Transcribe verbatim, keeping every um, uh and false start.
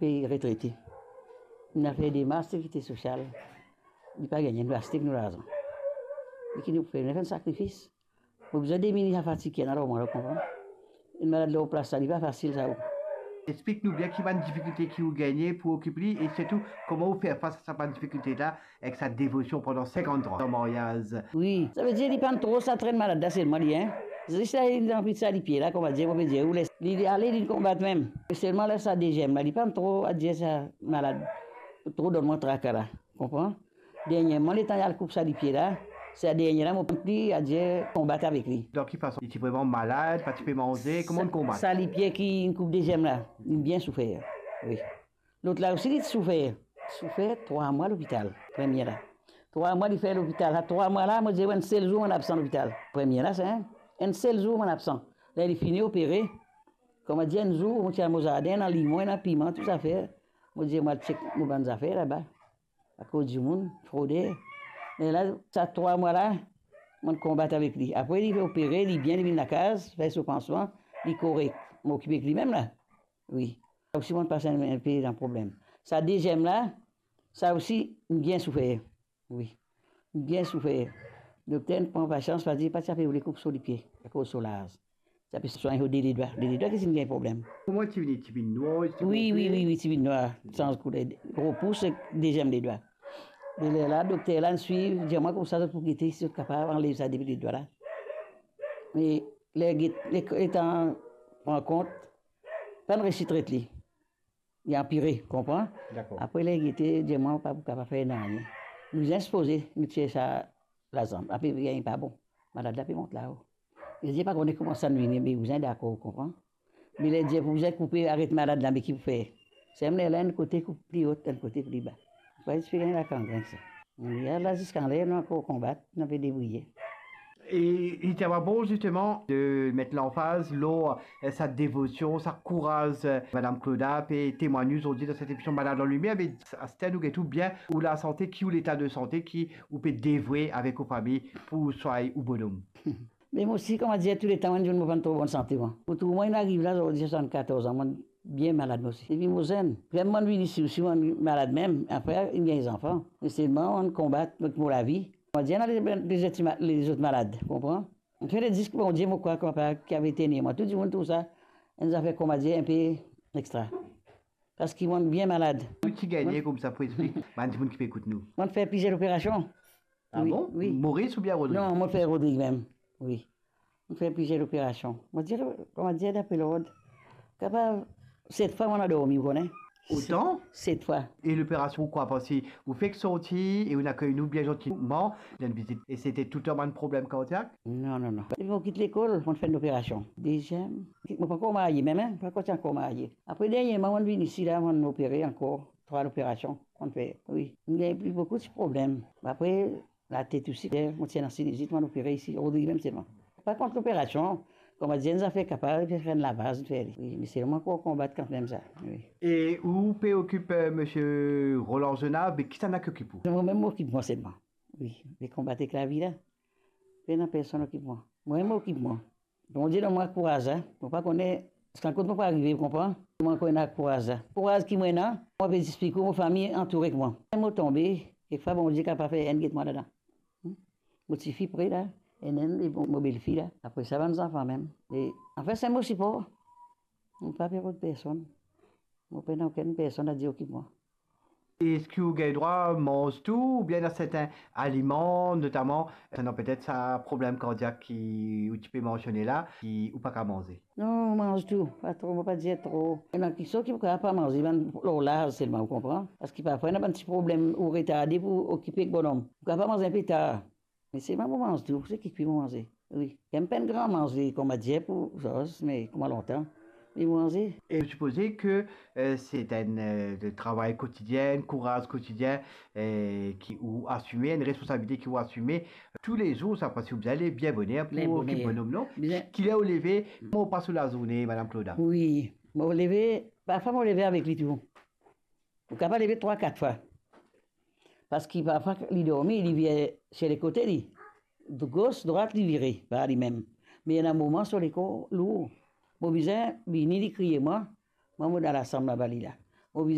Pe retrete. Nou al fer demars sekirite sosial. Li pa gagne, nou aste ek nou larzan. E ki nou fer, nou fer enn sakrifis. Mo bizin dimini sa fatig ki ena lor mwa la, ou konpran? Enn malad lor plas la, li pa fasil sa, ou. Explik nou bien ki bann difikilte ki ou gagne pou okip li e sirtou kouma ou fer fas a sa bann difikilte la ek sa devosion pandan sinkant an maryaz. Wi, savedir li pa'nn tro sa trenn malad la selman li, hein. Zis la, li anvi sa lipie la, kouma dir, mo pe dir, ou les li ale, li konbat mem. Selman la, sa deziem la, li pa'nn tro adir sa malad, tro donn mwa traka la, konpran? Derniereman, letan li al koup sa lipie la, sa dernie la, mo pa'nn pli adir konbat avek li. Dan ki fason? Li ti vreman malad, pa ti pe manze, kouma ou konbat? Sa lipie ki inn koup deziem la, li bien soufer, wi. Lot la osi, li ti soufer. Soufer trwa mwa lopital, premie la. Trwa mwa li fer lopital. Sa trwa mwa la, mo dir, enn sel zour mo'nn absan lopital. Premie la, sa, hein? Enn sel zour mo'nn absan. Ler li fini opere, kouma dir, enn zour, mo ti al mo zardin, ena limon, ena piman, tou zafer. Mo dir, mo al chek mo bann zafer laba. Akoz dimoun, froder. Me la, sa trwa mwa la, mo'nn konbat avek li. Apre, li opere, li bien, li vinn lakaz, fer so pansman, li korek. Mo okipe ek li mem la. Wi. Sa osi, mo'nn pas enn, enn pe dan problem. Sa deziem la, sa osi, inn bien soufer. Wi. Inn bien soufer. Dokter inn pran pasians, pa dir, pa ti ape oule koup so lipie, akoz so laz. Ti ape swagn so de ledwa. De ledwa ki ti inn gagn problem. Kouma ti vini, ti vinn nwar, ti... Wi, wi, wi, wi, ti vinn nwar. Sanz kouler. Gro pous ek deziem ledwa. E lerla, dokter la inn swiv, dir mwa koumsa, zot pou gete si zot kapav anlev sa de ledwa la. Me ler get, le, letan pran kont, pa'nn resi tret li. Li anpire, konpran? Dakor. Apre, ler gete, dir mwa pa pou kapav fer nanye. Nou bizin sipoze nou tir sa lazanm. Apre, gagn pa bon. Malad la pe mont lao. Li dir pa kone kouma sa vini, me bizin dakor, konpran? Me ler dir pou bizin koupe, aret malad la, me ki pou fer? Semem lerla, enn kote koup pli o, enn kote pli ba. Apre, ti pe gagn lakangrenn sa. Nou la, la ziska ler nou ankor konbat, nou pe debriye. E li ti ava bon, zisteman, de met lanfaz lor, eh, sa devosion, sa kouraz, eh, Madam Clauda pe temwagne zordi dan set emision Malad an Limier, me aster nou get ou bien, ou lasante, ki ou leta de sante, ki ou pe devwe avek ou fami pou ou swagn ou bonom? Me mo osi, kouma dir, touletan, mo dimoun, mo pa'nn tro bonn sante, mwa. Pou tou, mwa, inn ariv la, zordi, swasannkatorz an, mo bien malad, mo osi. Depi mo zenn. Premie mo vinn isi osi, mo malad mem. Apre, inn gagn zanfan. Me selman, mo konbat mo, mo lavi. Mo dir, ena lezot, lezot malad, konpran? Mo fer le disk, Bondie, mo krwar kouma pa, ki ave tenir mwa. Tou dimoun trouv sa enn zafer, kouma dir, inpe extra. Parski mo bien malad. Ou ti gagne koumsa pou explik bann dimoun ki pe ekout nou. Mo fer plizier loperasion. Ah bon? Wi. Moris oubien Rodrig? Non, mo fer Rodrig mem. Wi. Mo fer plizier loperasion. Mo dir, kouma dir, dapre lord, kapav set fwa mo ena dormi, ou kone. Otan? Set fwa. E loperasion, ou krwar, parski ou fek sorti e ou inn akey nou bien zantiman, dan enn vizit. E sete touletan bann problem kardiak? Non, non, non. Depi mo kit lekol, mo finn loperasion. Deziem, mo pankor marye mem, hein, pankor ti ankor marye. Apre, derniereman, mo vinn isi la, mo opere ankor. Trwa loperasion mo fer, wi. Mo gagn pli boukou ti problem. Apre, latet osi, mo ti ena sinizit, mo opere isi, Rodrig mem selman. Pa kont loperasion, kouma dir, enn zafer kapav fer enn lavaz, fer li. Wi, me selman mo konbat kanmem sa, wi. E ou pe okip, eh, misie Roland Zonard, me kisannla ki okip ou? Mo mem mo okip mwa selman. Wi, me konbat ek lavi la. Pena personn okip mwa. Mo mem mo okip mwa. Bondie donn mwa kouraz la. Mo pa kone ziska kot mo pou arive, ou konpran? Mo ankor ena kouraz la. Kouraz ki mo ena, mo pe explik ou, mo fami antoure ek mwa. Mo tonbe, kekfwa Bondie kapav fer enn get mwa ladan. Hmm? Mo tifi pre la, enn, enn, e mo, mo belfi la. Apre sa, bann zanfan mem. E, anfin, se mo sipor. Mo pa pe rod personn. Mo pena okenn personn a dir okip mwa. Eski ou gagn drwa manz tou, oubien ena sertin aliman, notaman, konsernant petet sa problem kardiak ki ou ti pe mansione la, ki ou pa kapav manze? Non, mo manz tou, pa tro, mo pa dir tro. Ena kiksoz ki ou kapav pa manze, bann lor laz selman, ou konpran? Parski parfwa ena bann ti problem, ou retarde pou okipe ek bonom. Ou kapav manz inpe tar. Me selman mo manz tou, se ki kwi mo manze. Wi. Mo pena gran manze, kouma dir, pou Zaz, me kouma lontan, me mo manze. E mo sipoze ke, eh, se enn, eh, de travay kotidien, kouraz kotidien, eh, ki ou asime, enn responsabilite ki ou asime toulezour, sa, parski ou bizin leve bien boner pou okip bonom, non? Bien boner. Kiler ou leve, kouma ou pas ou lazourne, Madam Clauda? Wi, mo leve, parfwa mo leve avek li tou. Ou kapav leve trwa, kat fwa. Parski parfwa li dormi, li vir sir lekote li. Gos, drwat, li vire par limem. Me ena moman so lekor lour. Mo bizin vini, li kriye mwa, mwa mo dan lasam laba, li la.